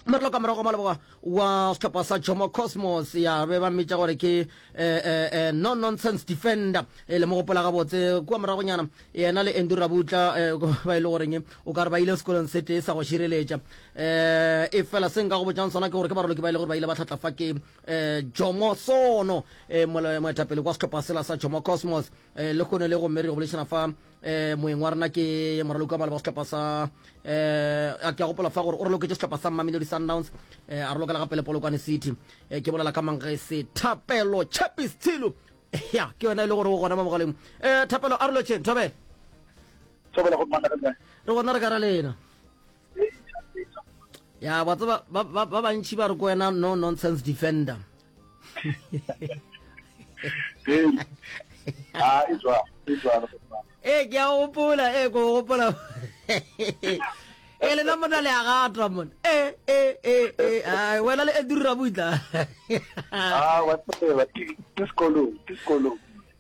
Moraloka ka morago ga maleboga wa sehlopha sa Jomo Cosmos ya be ba mmitša gore ke eh, eh, eh, no nonsense defender e le mo gopola gabotse kua moragonyana yena le Andrew Rabutla eh, ba e le goreng o ka re ba ile sekolong se tee sa go šireletša eh, e fela se nka go botšang sona ke gore ke baraloki ba e le gore ba ile ba tlhatla fa ke eh, Jomo Sono eh, moetapele kwa sehlopha sela sa Jomo Cosmos eh, le kgone le gomme re go boledišana fa eh moeng wa rena ke moraloki wa maloba sehlopha sa eh a ke a gopola fa gore o raloketše sehlopha sa Mamelodi Sundowns eh a ralokela gape le Polokwane City eh ke bolela ka Mangese Thapelo Chapis Tshilu ya ke yona e le gore o gona mo mogaleng eh Thapelo a re lotšheng thobela Thobela go mana re re gona re ka ra lena ya ba tseba ba ba bantši ba re ko wena no nonsense defender ee ke a gopola ee ko gopola ee lena mona le a gatwa mona ee ee ee ee ai wena le edurira butla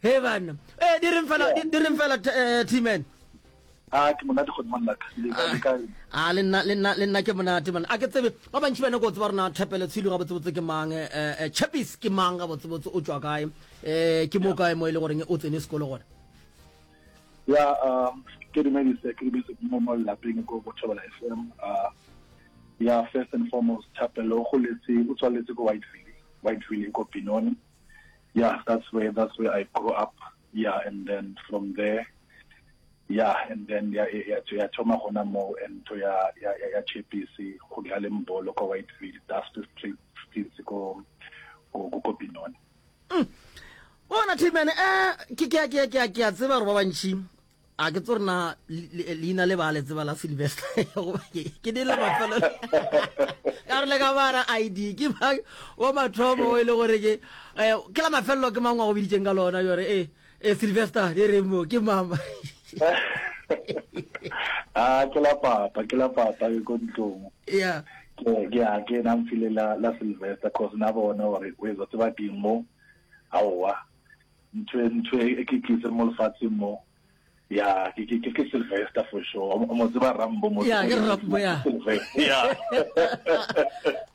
he banna ee di reng fela di reng fela t-man A ke monate go nna ka le ka le kae? A le nna le nna le nna ke monate man. A ke tsebe ba bantši ba nyaka go tseba rena Thapelo Tshilu ga botsebotse ke mang eh, eh Chappies ke mang ga botsebotse o tšwa kae? Eh ke mo kae mo e le goreng o tsene sekolo gona? Ya um ke dumedise ke dumedise mo mo lapeng ko go Thobela FM. Uh ya first and foremost Thapelo o goletse o tswaletse ko Whiteville, Whiteville ko Benoni. Yeah, that's where that's where I grew up. Yeah, and then from there Yeah and then ya ya ya thoma gona moo and ntho ya ya ya Chepisi go dlaleng bolo kwa Whiteville Dusty Streets ko ko ko Benoni. Mm. Bona T-Man eh ke ke ke ke ke a tseba gore ba bantši a ke tso rena leina le ba le tseba la Sylvester ke di le mafelo ka re le ka bara ID ke ba wa mathomo e le gore ke eh, ke la mafelelo ke mangwe a go biditseng ka lona jore eh e sylvester e re mo ke mama a ke la papa ke la papa ke ko ntlong yeah ke ke a ke na mfile la la sylvester cause na bona gore o etsa tseba ke mo aowa ntho e, ntho e ke tlise mo lefatsheng mo ya ke ke ke Sylvester for sure o mo tseba Rambo mo ya ke Rambo ya ya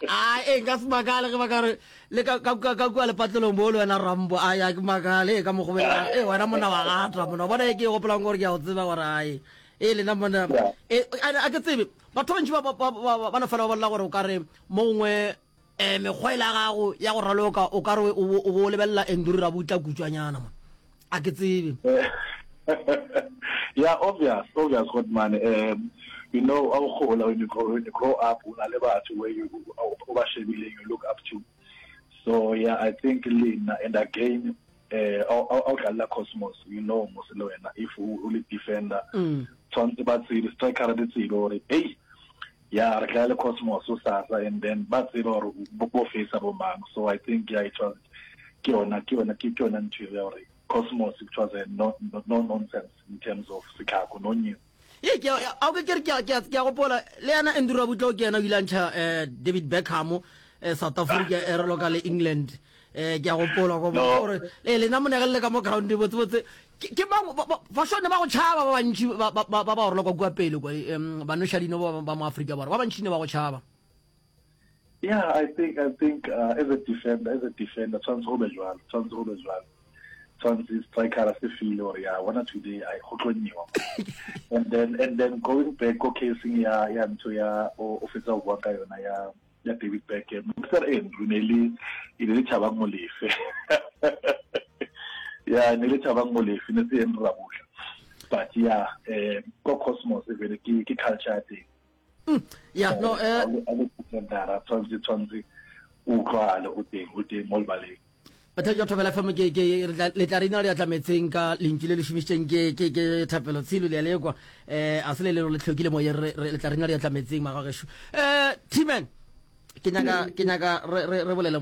a e nka se makale ge ba ka re le ka ka ka kua lepatlelong bo le wena Rambo a ya ke makale e ka mogobela e wena monna wa gatwa monna bona e ke e gopolang gore ke a go tseba gore ai e lena monna e a ke tsebe batho bantši ba ba no fela ba bolela gore o ka re mo gongwe um mekgwa e la gago ya go raloka o ka re o bo lebelela Andrew Rabutla kutšwanyana mo a ke tsebe yeah obvious obvious god man um you know a gola when you grow when you grow up o na le batho where you o ba shebileng you look up to so yeah i think lena and again eh a o dlalela Cosmos you know mos le wena if o le defender mm. tshwanetse ba tsebe striker di tsebe gore hey ya re dlala le Cosmos o sasa and then ba tseba gore bo face bo mang so i think yeah it was ke yona ke yona ke yona ntho ya gore Cosmos it was a no, no, no nonsense in terms of sekhako no new ye ke a ke ke ke ke ke a gopola le yana Andrew Rabutla ke yena o ile a ntšha eh, David Beckham eh, South Africa e raloka le England eh ke a gopola go gore le lena monegelle ka mo ground botse botse ke mang ba sone ba go tšhaba ba bantši ba ba ba roloka kua pele kwa ba noša dino ba ba mo Afrika Borwa ba bantši ne ba go tšhaba. Yeah, I think I think uh, as a defender, as a defender, tshwanetse go be jwalo, tshwanetse go be jwalo. Tshwanetse striker se feel gore ya bona today I go tlo nyewa. And then and then going back ko casing ya ya ntho ya o fetsa go bua ka yona ya ya David Beckham. Mr Andrew ne le e ne le Thabang Molefe. Ya ne le Thabang Molefe ne se Andrew Rabutla. But yeah, eh ko Cosmos e vele ke ke culture ya teng. Mm, yeah, no eh a le defendera tshwanetse tshwanetse o utlwale o teng o teng mo lebaleng. Batho jwa Thobela FM ke ke le tla re ina re atlametseng ka lentšu le le šomišitšeng ke ke ke Thapelo Tshilo le a lekwa eh a se le le le tlhokile moyeng re le tla re ina re atlametseng magagešo eh T-Man ke nyaka ke nyaka re re re bolele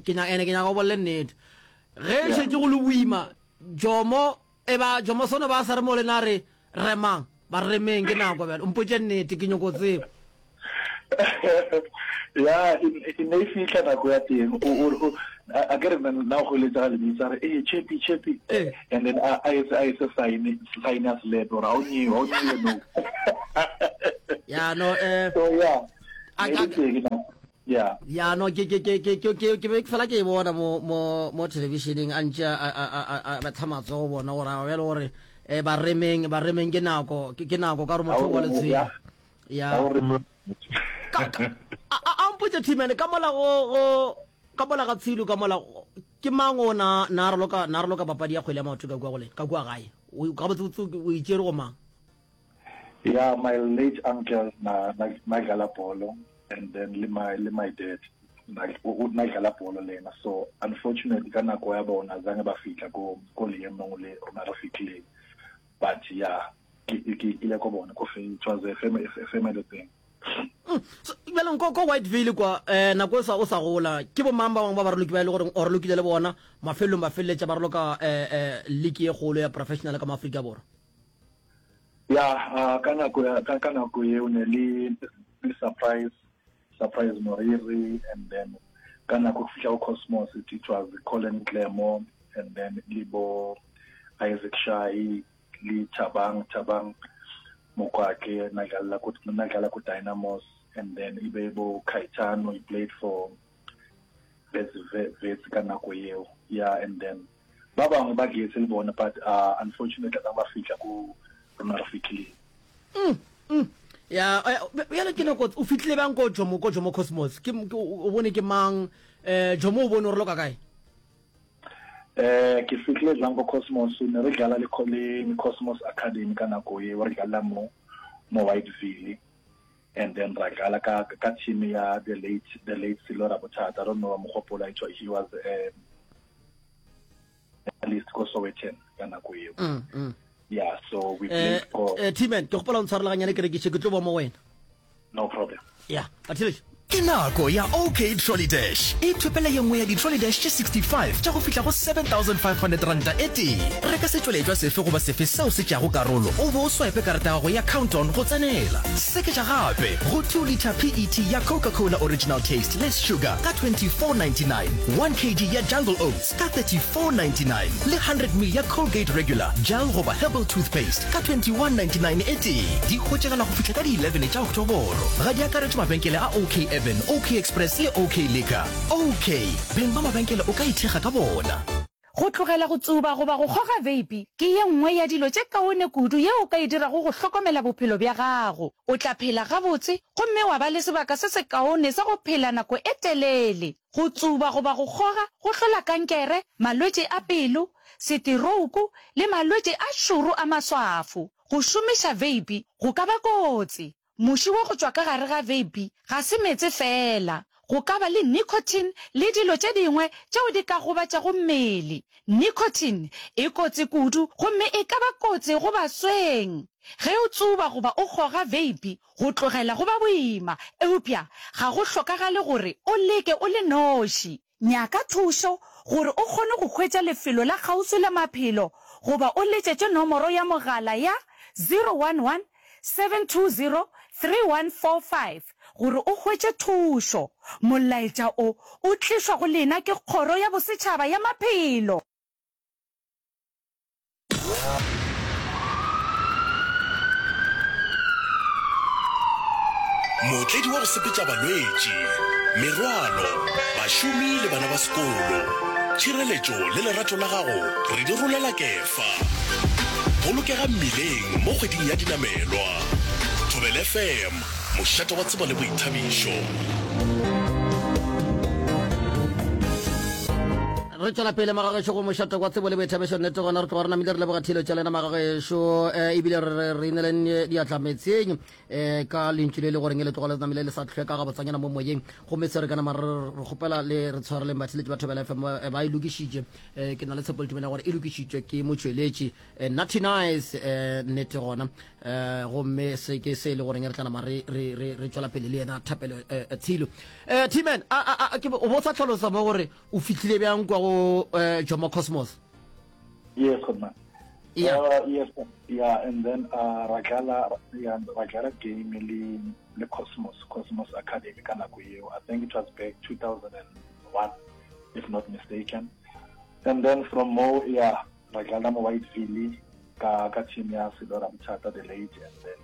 ke nyaka ene ke nyaka o bolele nnete ge šetše go le boima Jomo e ba Jomo sono ba sa re mo lena re Remang, ba remeng, ke nako bjale. O mpotše nnete, ke nyoko tseba. Ya, e ne e fihla nako ya teng. O, o, a ke re nna o goeletsa ga lebitsa re, ee, Chepi, Chepi. Eh. And then a, a etse, a etse sign, sign ya selepe gore a o nyewe, a o nyewe no. Ya, no, eh. So, yeah. A, Ne e le teng nako. Yeah. Ya no ke ke ke ke ke ke ke be ke fela ke e bona mo mo mo televisioneng a ntše a a a a a betha matsogo bona gore a bjale gore eh ba remeng ba remeng ke nako ke ke nako ka gore motho wa letshwele. Ya. Ka ka a a mpotse T-man ka mola go go ka mola ga Tshilo ka mola ke mang o na na raloka na raloka papadi ya kgwele ya maoto ka kua go le ka kua gae. O gabotse o itšere go mang? Yeah, my late uncle na na na dlala bolo and then le my le my dad na o na dlala bolo le yena so unfortunately ka nako ya bona zange ba fihla ko ko leemong le rona re fihlileng but yeah ke ke ile ko bona ko fe it was a family a family thing mm, so bjale ko ko Whiteville kwa eh nako e sa o sa gola ke bo mang ba bangwe ba baraloki ba e le gore o ralokile le bona mafelelong ba feleletša ba raloka eh eh league ye kgolo ya professional ka mo Afrika Borwa Ya, uh, ka nako ya ka, ka nako eo ne le le surprise surprise Moriri and then ka nako go fihla go Cosmos it, it was Colin Clemo and then le bo Isaac Shahi le Thabang Thabang Mokwake na dlala ko na dlala ko Dynamos and then ibe bo Kaitano he played for Wits Wits ka nako eo yeah and then Ba bangwe ba getse le bona but uh, unfortunately ba ba fihla ko rona re fihlileng. Mm, mm. Ya, eh, bjale ke nako o fihlile bjang ko Jomo ko Jomo Cosmos? Ke o bone ke mang? Eh Jomo o bone o re loka kae? Eh ke fihlile jang ko Cosmos ne re dlala le le Cosmos Academy ka nako eo re dlala mo mo Whiteville and then ra dlala ka ka team ya the late the late Silo Rabothata I don't know wa mo gopola he was um, at least ko Sowetan ka nako eo mm, mm. yeah so we eh, played for eh, T-Man ke gopola o ntshwarela ganyane ke rekiše ke tlo ba mo wena no problem yeah batheletši Ke nako ya OK Trolley Dash. Ithopele ye nngwe ya di-trolley dash tše 65 tša go fihla go R7500 e tee. Reka setšweletšwa sefe goba sefe seo se tšeago karolo o be o swipe karata ya gago ya Count-On go tsenela. Seketša gape go 2 litre PET ya Coca-Cola Original Taste Less Sugar ka 24.99, 1 kg ya Jungle Oats ka 34.99 le 100 ml ya Colgate Regular, Gel goba Herbal Toothpaste ka 21.99 e tee. Di hwetšagala go fihla ka di 11 tša Oktoboro. Ga di akaretšwe mabenkele a OK Urban, OK Express le OK Liquor. OK, beng ba mabenkele o ka ithekga ka bona. Go tlogela go tsuba goba go kgoga veipi ke ye nngwe ya dilo tše kaone kudu yeo o ka e dirago go hlokomela bophelo bja gago. O tla phela gabotse gomme wa ba le sebaka se sekaone sa go phela nako e telele. Go tsuba goba go kgoga go hlola kankere, malwetši a pelo, seterouku le malwetši a šoro a maswafo. Go šomiša veipi go ka ba kotsi. Muši wa go tšwa ka gare ga veipi ga se meetse feela. Go ka ba le nicotine le dilo tše dingwe tšeo di ka gobatšago mmele. Nicotine e kotsi kudu gomme e ka ba kotsi go basweng. Ge o tsuba goba o kgoga veipi, go tlogela go ba boima, eupša ga go hlokagale gore o leke o le noši. Nyaka thušo gore o kgone go hwetša lefelo la kgauswi la maphelo goba o letšetše nomoro ya mogala ya 011 720 3145 gore o hwetše thušo. Molaetša o o tlišwa go lena ke Kgoro ya Bosetšhaba ya Maphelo. Mootledi wa go sepetša balwetši, merwalo, bašomi le bana ba sekolo. Tšhireletšo le lerato la gago re di rolela kefa. Bolokega mmileng mo kgweding ya dinamelwa. Thobela FM, mošate wa tsebo le boithabišo. Re tšwela pele magagešo go mošate wa tsebo le boithabišo. Nnete gona re tloga re namile re leboga thilo tša lena magagešo eh, ebile re re re ineleng diatla metseng eh, ka lentšu le le goreng le tloga le namile le sa hlweka gabotsanyana mo moyeng. Gomme se re ka nama re re kgopela le re tshwareleng batheletši ba Thobela FM eh, ba e lokišitše eh, ke na le tshepo le tumelo ya gore e lokišitšwe ke motšweletši eh, Natty Nice eh, nnete gona eh, gomme se ke se e le goreng re tla nama re re re re tšwela pele le yena Thapelo eh, Tshilo. Eh, T-Man, a a a ke o bo sa hlalosa mo gore O fihlile bjang kwa go uh, Jomo Cosmos? Yes, good man. Yeah. Uh, yes, yeah, and then uh, ra dlala yeah, ra dlala game le le Cosmos, Cosmos Academy ka nako eo. I think it was back 2001 if not mistaken. And then from mo yeah, ra dlala mo Whiteville ka ka team ya Selora Mthata the late and then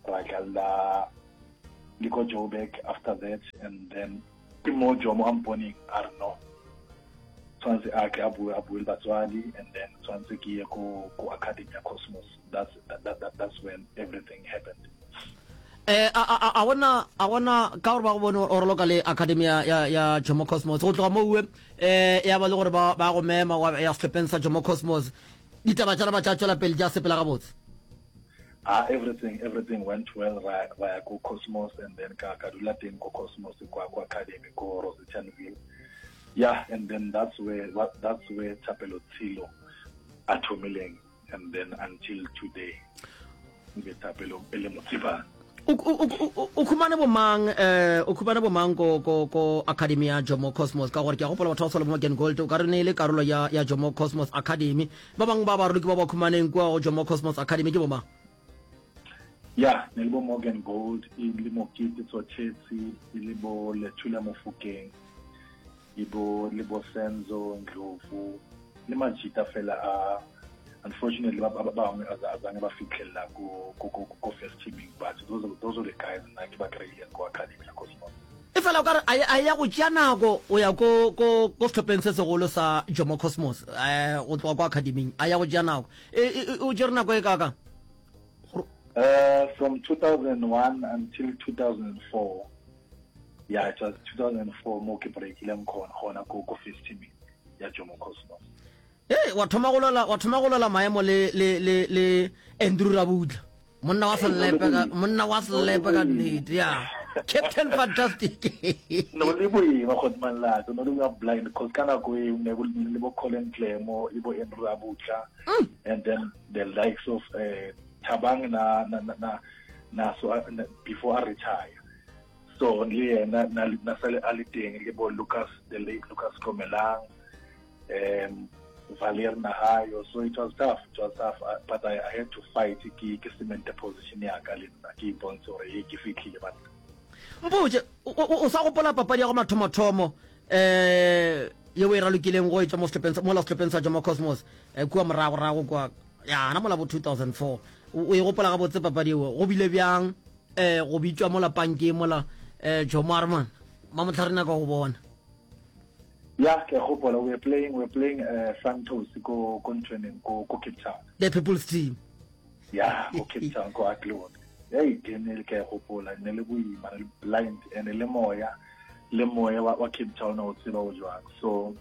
ra dlala. Le ko Joburg after that and then ke mo Jomo a mponeng a re no tshwanetse a ke a bue a bue le batswadi and then tshwanetse ke ye ko ko academy ya Cosmos that's that, that, that, that's when everything happened. Eh a a a gona a gona ka gore ba go bone o raloka le academy ya ya ya Jomo Cosmos go tloga mo uwe eh ya ba le gore ba ba go mema wa ya sehlopheng sa Jomo Cosmos ditaba tša ba tša tšwela pele tša sepela gabotse. Ah, everything everything went well ra ra ya ko Cosmos and then ka ka dula teng ko Cosmos kwa kwa academy ko Rosettenville yeah and then that's where that's where Thapelo Tshilo a thomileng and then until today nke Thapelo e le motsebane o khumane bomang eh o khumane bomang ko ko ko academy ya Jomo Cosmos ka gore ke a gopola batho ba tshwana le bo Morgan Gold o ka re ne e le karolo ya ya Jomo Cosmos Academy Ba bangwe ba baroloki ba ba khumaneng kua go Jomo Cosmos Academy ke bomang? Ya, ne le bo Morgan Gold, e le Mokete Tsothetsi, e le bo Lethula Mofokeng, e bo le bo Senzo Ndlovu, le majita fela a unfortunately ba ba bangwe a zange ba fitlhelela ko ko ko ko first teaming but those are, those are the guys nna ke ba kry-ileng ko academy ya Cosmos. E fela o ka re a ya go tšea nako o ya ko ko ko sehlopheng se segolo sa Jomo Cosmos eh go tloga ko academing a ya go tšea nako e, e, e o tšere nako e kaka Uh, from 2001 until 2004 yeah it was 2004 mo ke breakileng khona gona ko ko first team ya Jomo Cosmos Hey, wa thoma go lwela wa thoma go lwela maemo le le le le Andrew Rabutla monna wa selepe ka monna wa selepe ka nnete ya Captain Fantastic no le boima go manlato no le boima blind because ka nako e ne go le bo Colin Clemo le bo Andrew Rabutla mm. and then the likes of uh, Thabang na na na na so uh, before I retire so le yena na na sale a le teng le bo Lucas the late Lucas Komelang um Valer Nahayo so it was tough it was tough uh, but I, I had to fight ke ke cement position ya ka le nna ke ipontshe gore e ke fitlhile banna mpotse o sa gopola papadi ya go mathomothomo eh yeo e ralokileng go etša mo sehlopheng mola sehlopheng sa Jomo Cosmos eh, kua moragorago kwa ya na mola bo 2004 o e gopola gabotse papadi eo go bile bjang eh go bitšwa mola pankeng mola eh Jomo a re man mamotlhare naka go bona Ya, ke a gopola we were playing we were playing uh, Santos ko ko ntweneng ko ko Cape Town. The People's Team. Ya, ko Cape Town ko Athlone. Hey, game e ke a gopola ne le boima le blind and le moya le moya wa, wa Cape Town o tseba o jwang. So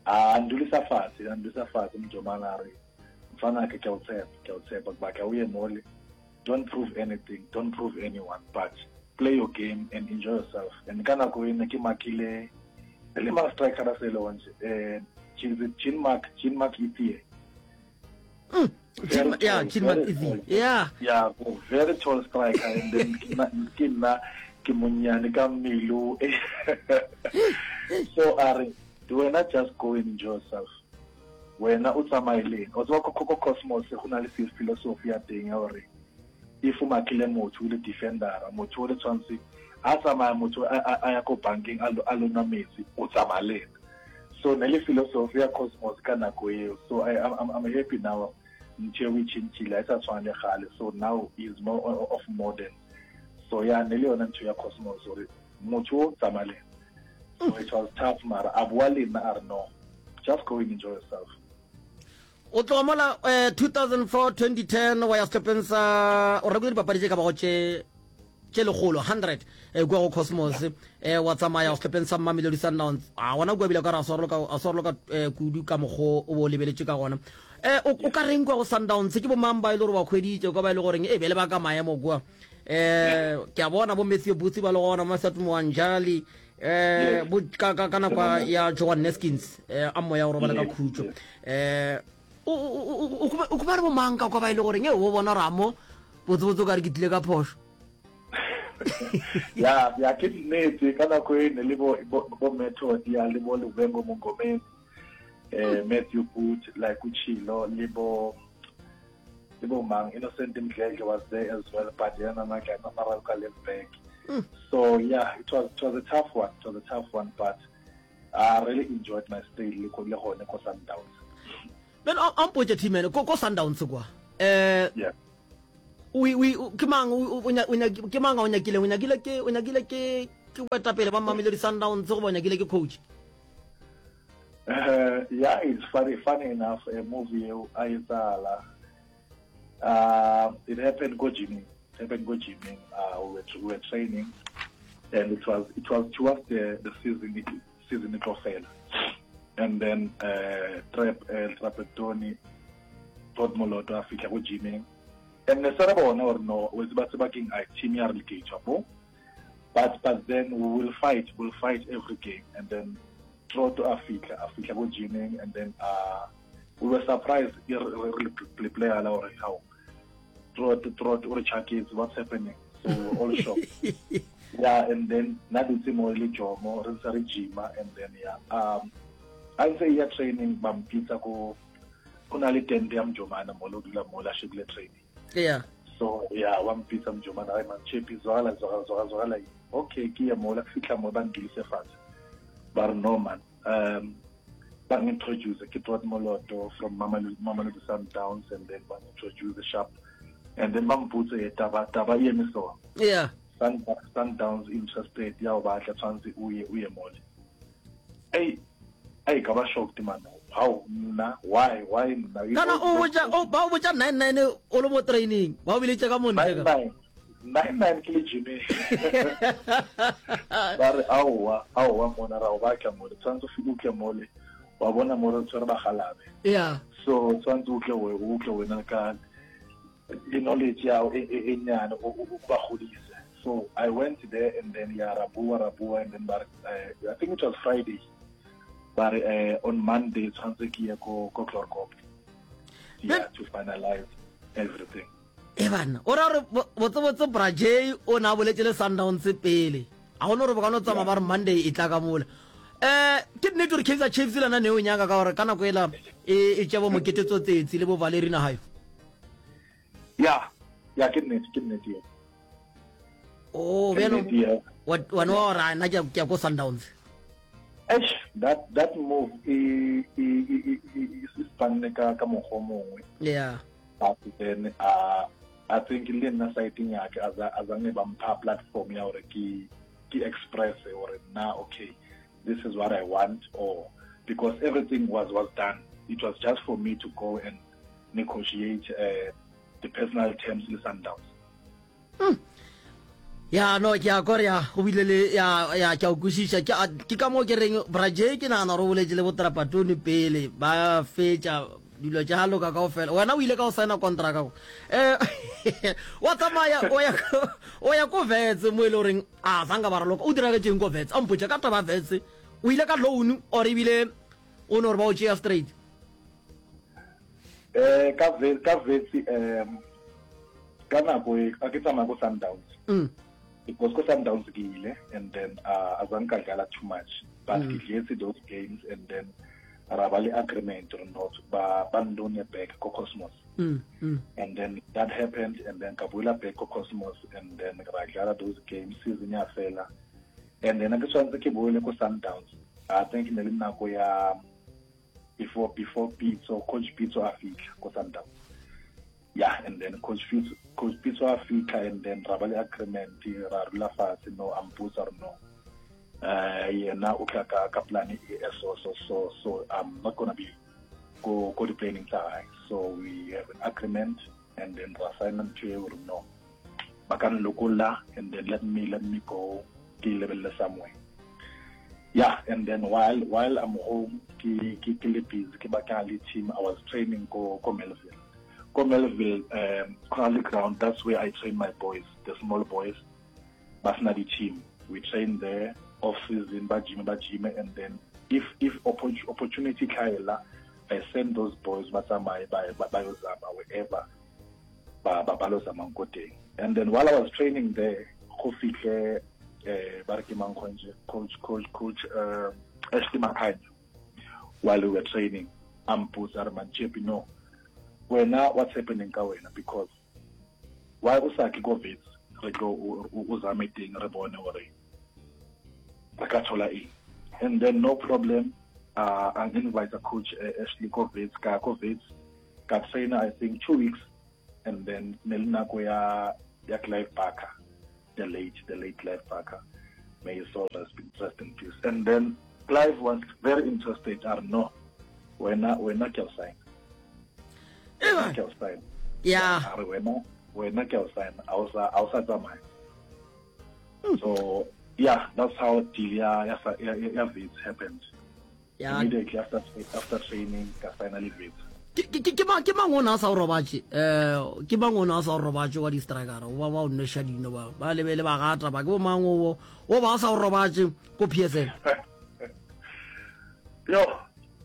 a ndulisa fatshe, a ndulisa fatshe mjomana a re mfana ke ke o tshepa, ke o tshepa ba ka o ye mole Don't prove anything, don't prove anyone, but play your game and enjoy yourself. And ka nako e ne ke makile e le mang striker a se le onje eh Jean Marc Jean Marc Ithie. Mm. Jean, yeah, Jean Marc Ithie. Yeah. Yeah, very tall striker and then ke nna ke monnyane ka mmele so a re wena just go and enjoy yourself Wena o tsamaye le ena. Wa tseba ko ko Cosmos go na le philosophy ya teng ya gore if o makile motho o le defendera motho o le tshwanetse a tsamaya motho a ya ko bankeng a lo nwa metsi o tsamaya le ena. So ne le philosophy ya Cosmos ka nako eo. So I, I'm, I'm happy now ntho eo e tšhentšhile ha e sa tshwana le gale. So now is more of modern. So ya ne le yona ntho ya Cosmos gore motho o tsamaya le ena. So it was tough mara a boa le nna a re no just go and enjoy yourself. O tloga mola eh, 2004 2010 wa ya sehlopheng sa o rekile dipapadi tše ka bago tše tše lekgolo 100 eh, kua go Cosmos eh, wa tsamaya sehlopheng sa Mamelodi Sundowns a gona kua bile ka re a swaroloka a swaroloka eh, kudu ka mokgo o bo o lebeletše ka gona eh, o, o ka reng kua go Sundowns ke bomang ba e le gore ba hweditše kwa ba e le goreng e bele ba ka maemo kua eh ke a bona bo Matthew Booth ba le gona Masat Mwanjali eh bo ka ka ka nako ya Joan Neskins eh a moya o robala ka khutšo eh o o o o ba re bo mang ka kwa ba ile e gore nge o bona ramo botse botse ka re ke tlile ka phošo ya ya ke nnete ka nako e ne le bo bo method ya le bo Luvengo Mongomeni eh Matthew Booth like uchilo le bo le bo mang Innocent Mdledle was there as well but yena na mara ka left back mm. so yeah it was it was a tough one it was a tough one but I really enjoyed my stay le go le gone ko Sundowns ben a mpotse team ko ko Sundowns kwa eh yeah. O o ke mang o o ke mang a o nyakileng? O nyakile ke o nyakile ke ke boetapele ba Mamelodi Sundowns goba o nyakile ke coach? Uh, yeah, it's funny, funny enough, a movie eo a etsala. Uh, it happened go gymming. It happened go gymming. Uh, we, were, we were training, and it was it was towards the the season it, season e tlo fela. And then uh, Trap uh, Trapattoni Todd Moloto a fihla go gymming. And ne se re bona gore no o tseba tseba keng a team ya relegate mo. But but then we will fight, we'll fight every game. And then Trotto a fihla, a fihla go gymming and then uh, we were surprised e re re player la gore how Trot Trot o re chaketse what's happening so we were all shocked yeah and then na dutse mo le Jomo re ntse re gyma and then yeah um a ntse ya training ba mpitsa ko go na le tente ya mjomana mo lo dula mo la shebile training yeah so yeah wa mpitsa mjomana ai man chepi zwala zwala zwala zwala okay ke ye mola ke fihla mo ba ndulise fatshe ba re no man um ba introduce ke Todd Moloto from Mamelodi Mamelodi Sundowns and then ba introduce sharp and then ba mpotse e taba taba e eme so yeah Sundowns interested ya o batla tshwantse o ye o ye mole ei ei ka ba shocked man how nna why why nna kana o botsa o ba o botsa 99 o le mo training ba o biletše ka montle ka 99 ke le gymeng ba re aowa aowa mona ra o batla mole tshwanetse o fike o tle mole wa bona mo re tshwere bagalabe yeah so tshwanetse o tle o tle wena ka le knowledge ya e, e, e nyane o ba godise so i went there and then ya ra bua ra bua and then ba uh, i think it was friday ba re uh, on monday tshwanetse ke ye ko ko Chloorkop yeah to finalize everything e banna o ra gore botsebotse bra j o ne a boletse le sundowns pele a gone gore bo ka no tsamaya ba re monday e tla ka mola um ke nnete gore kaizer chiefs le yona ne o nyaka ka gore ka nako ela e, e tša bo mokete tsotsetsi le bo valerina gayo ya ya ke nnete ke nnete eo o oh, bjalo wena wa gore nna ke ya ko sundowns Eish, that that move e e e e e spanne ka ka mokgwa o mongwe yeah but then uh, I think le nna siteng ya ke azange ba mpha platform ya gore ke ke express gore nna okay this is what I want or because everything was was done it was just for me to go and negotiate uh, the personal terms le Sundowns mm. ya no ke a kore ya go bile le ya ya ke a kwešiša ke ke ka moo ke reng braje ke nagana gore o boletse le botrapatone pele ba fetša dilo tša loka kao fela wena o ile ka o signa contract go eh wa tsamaya o ya o ya ko vetse mo e le goreng a sanka ba raloka o diragetšeng ko vetse a mpotša ka taba vetse o ile ka loan or ebile o ne gore ba o tšea straight Eh ka ve ka vetsi um ka nako e a ke tsamaya ko Sundowns. Mm. Because ko Sundowns ke ile and then uh, azange ka dlala too much but mm. ke dletse those games and then ra ba le agreement or not ba ba ndone back ko Cosmos. Mm. Mm. And then that happened and then ka boela back ko Cosmos and then ra dlala those games season ya fela and then ke tshwanetse ke boele ko Sundowns. I think ne le nako ya before before Pitso coach Pitso a fitlha ko Sundowns yeah and then coach Pitso coach Pitso a fitlha and then ra ba le agreement ra rula fatshe no a mpotsa re no uh yena o tla ka ka plan e so so so so I'm not gonna be go go di planning tsa hae so we have an agreement and then ra sign ntho eo re no ba ka nlokolla and then let me let me go ke lebelele somewhere yeah and then while while i'm home ke ke ke le busy ke batla le team i was training ko ko Melville ko Melville um Crawley ground that's where i train my boys the small boys ba sena di team we train there off season ba gym ba gym and then if if opportunity tlhaela i send those boys ba tsamaye ba ba yo zama wherever ba ba ba lo zamang ko teng and then while i was training there go fitlhe eh ba re ke mang gonje coach coach coach uh, Ashley Makhanya while we were training a mpotsa re man no wena what's happening ka wena because why o sa tle ko Wits re tlo o zame teng re bone gore re ka thola eng and then no problem uh, I invite coach uh, Ashley ko Wits ka ko Wits ka trainer I think two weeks. And then ne le nako ya ya Clive Barker, the late the late Clive Barker. May his soul rest in, rest in peace. And then Clive was very interested. A re no, wena wena ke a o sign. Wena ke a o sign. Yeah. A re wena wena ke a o sign. A o sa a o sa tsamaya. So yeah, that's how deal ya ya ya, ya Wits happened. Yeah. Immediately after after training ka signa le Wits. Ke ke ke mang ke mang o na sa o robatše eh ke mang o na sa o robatše wa di striker o ba ba o nweša dino ba ba lebele ba gata ba ke bo mang o o ba sa o robatše ko PSL Yo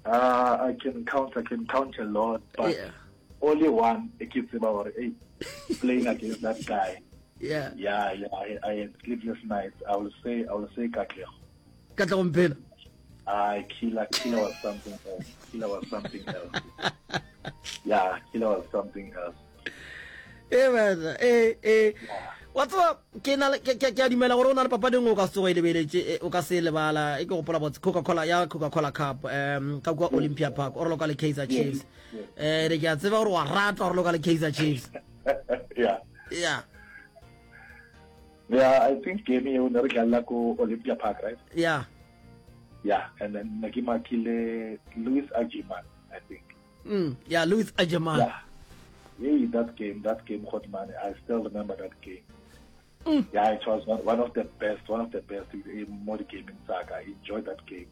uh, I can count I can count a lot but yeah. only one e ke tseba gore hey playing against that guy yeah yeah yeah I, I had sleepless nights I will say I will say Katlego Katlego Mphela I killer killer was something else killer was something else yeah killer was something else e bana e e wa tseba ke na ke ke a dumela gore o na le papadi nngwe o ka se tsogo e lebeletše e, o ka se lebala e ke gopola botse Coca-Cola ya Coca-Cola Cup um ka kua Olympia Park o raloka le Kaizer Chiefs um re ke a tseba gore wa rata go raloka le Kaizer Chiefs yeah yeah Yeah, I think game eo ne re dlalla ko Olympia Park, right? Yeah. Yeah, and then ne ke makile Louis Ajiman, I think. Mm, yeah, Louis Ajiman. Yeah. Hey, that game, that game, Hotman, I still remember that game. Mm. Yeah, it was one, one of the best, one of the best in more game in Saka. I enjoyed that game.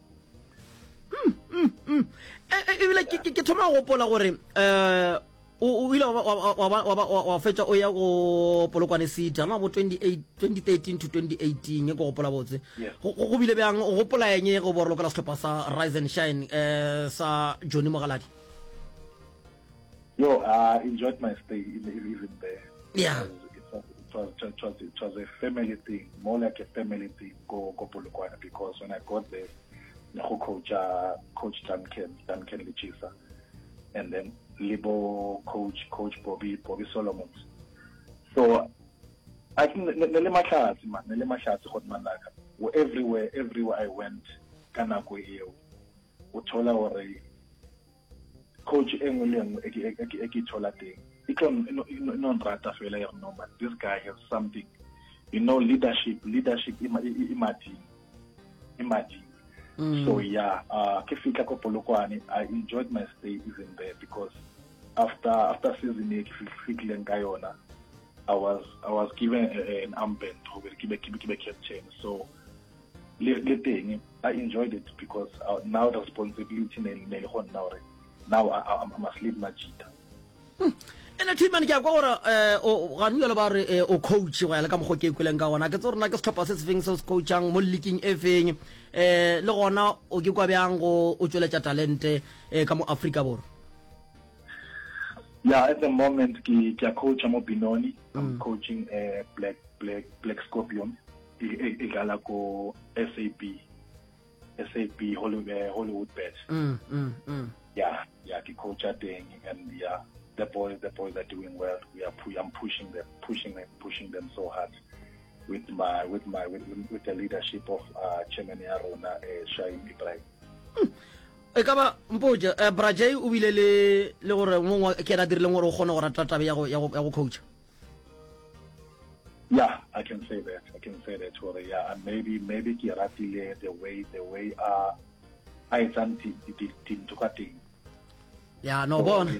Mm, mm, mm. E, e, ebile ke thoma go gopola gore um O ile wa fetša o ya go Polokwane City gona bo 2013 to 2018 ke gopola botse. Go bile bjang o gopola eng go bo lokela sehlopha sa Rise and Shine eh, sa Johnny Mogaladi? Yo, I enjoyed my stay even there. Yeah. It was, it was, it was, it was a family thing, more like a family thing, go, go Polokwane, because when I got there, go coach, uh, coach Duncan, Duncan Lechisa, and then le bo coach coach Bobby Bobby Solomons so I think ne le mahlatse man ne le mahlatse go manaka everywhere everywhere I went ka nako eo o thola gore coach e nngwe le nngwe e ke thola teng e tlo e no nrata fela ya no man this guy has something you know leadership leadership e mading e mading mm. so yeah uh ke fihla ko Polokwane I enjoyed my stay even there because after after season e ke fihlileng ka yona I was I was given a, a, an armband gore ke be ke be captain so le le teng I enjoyed it because uh, now the responsibility ne ne le go nna gore now I, I, I must leave Majita Hmm. ene thimane ke a kwa gore um gane jalo ba re eh, o coach go ya le ka mokgwa ke kweleng ka gona ke tse rona ke setlhopha se se feng se o se coachang mo leaking e feng um le gona o ke kwa bjang go o tšweletša talente um ka mo Afrika Borwa Yeah, at the moment ke ke a coacha mo Benoni. I'm mm. coaching uh, Black Black Black Scorpion e, e, e dlala ko SAB. SAB Hollywood, uh, Hollywood Bet. Mm, mm, mm. Yeah, yeah, ke coacha teng and yeah, the boys the boys are doing well. We are pu I'm pushing them, pushing them, pushing them so hard with my with my with, with the leadership of uh, chairman ya rona uh, Shaim Ibrahim. Mm. E ka ba mpotše eh, Brajay o bile le le gore mongwe ke yena a dirileng gore o kgone go rata tabe ya go ya go ya go coacha. Yeah, I can say that. I can say that gore yeah, and maybe maybe ke ratile the way the way a a etsang dintho ka teng. Ya no bona.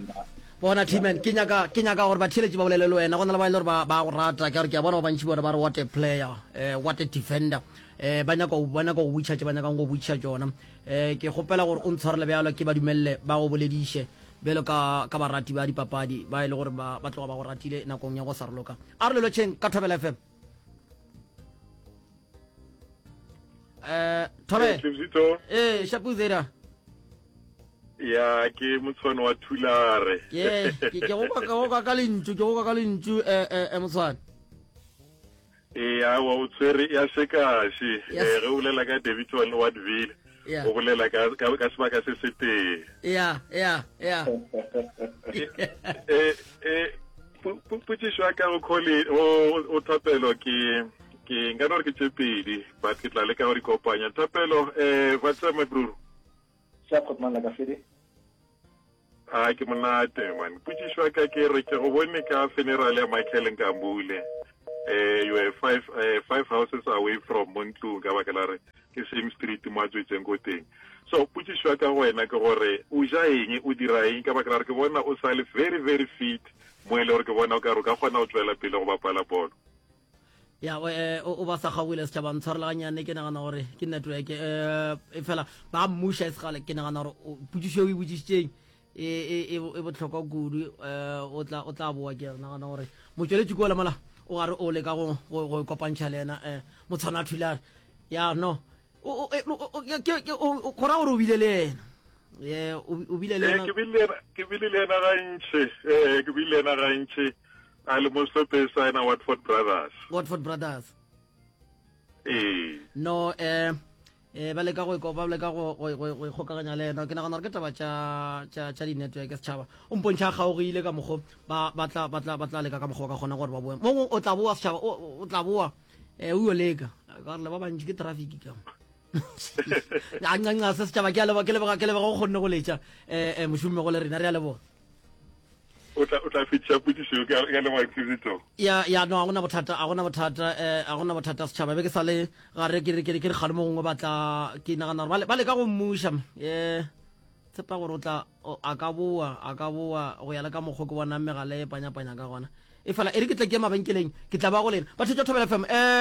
Bona T-man ke nyaka ke nyaka gore batheeletši ba bolele le wena go na le ba e le gore ba ba go rata ke gore ke a bona ba bantši bona ba re what a player eh, what a defender eh ba nyaka ba nyaka go botšiša tše ba nyakang go botšiša tšona eh ke kgopela gore o ntshwarele bjalo ke ba dumelele ba go bolediše bjalo ka ka barati ba dipapadi ba e le gore ba ba tloga ba go ratile nakong ya go sa roloka a re lelotšheng ka Thobela FM eh Thobela eh Shapuzera ya ke motshwane wa thulare ke ke ke go ka go ka lentšu ke go ka ka lentšu eh eh, eh motshwane ee awa o tshwere ya sekaše eh, ge o bolela ka Davidson Wattville o bolela ka ka sebaka se se tee ya ya ya eh eh potšišo ya ka go khole o thapelo ke ke nka no re ke tše pedi but ke tla leka go di kopanya thapelo eh what's up my bro Sharp Khotman la ka fede. A ke monate man. Potšišo ya ka ke re ke go bone ka funeral ya Michael Nkambule. Eh you were five eh, five houses away from mo ntlong ka baka la re ke same street mo a tswetseng ko teng. So potšišo ya ka go wena ke gore o ja eng o dira eng ka baka la re ke bona o sa le very very fit mo e le gore ke bona o ka re o ka kgona go tswela pele go bapala bolo. Ya o eh, o ba sa kgaogile setšhaba ntshwarela ganyane ke nagana gore ke network eh e fela ba mmuša e segale ke nagana gore potšišo e o e botšišitšeng e, e, e, e bohlokwa kudu eh, o tla o tla boa ke nagana gore motšweletši kua mola o gare o leka go go go kopantšha le yena eh motshwana thulare ya no o o go ra gore o bile le yena ye o bile le yena ke bile ke bile le yena gantši eh ke bile le yena gantši A le mo sehlopheng sa yena Watford Brothers. Watford Brothers. Ee. No eh eh ba leka go ba leka go go go ikgokaganya le yena ke nagana gore ke taba tša tša tša di-network setšhaba o mpontšha a kgaogile ka mokgo ba ba tla ba tla ba tla leka ka mokgwa ba ka kgona gore ba boe mo o tla boa setšhaba o tla boa eh o yo leka ka gore le ba bantši ke traffic ka a ncanca se setšhaba ke a leboga ke leboga ke leboga go kgonne go letša eh, eh mošomi go le rena re a leboga o tla o tla fetiša potšišo ka ka leboga Xizito ya ya no a gona bothata a gona bothata eh a gona bothata setšhaba be ke sa le gare ke re ke re ke re kgale mo gongwe ba tla ke nagana gore ba leka go mmuša eh tshepa gore o tla a ka boa a ka boa go ya le ka mokgwa ke bonang megala e panyapanya ka gona e fela e re ke tle ke ye mabenkeleng ke tla ba go lena batho tša thobela fm eh.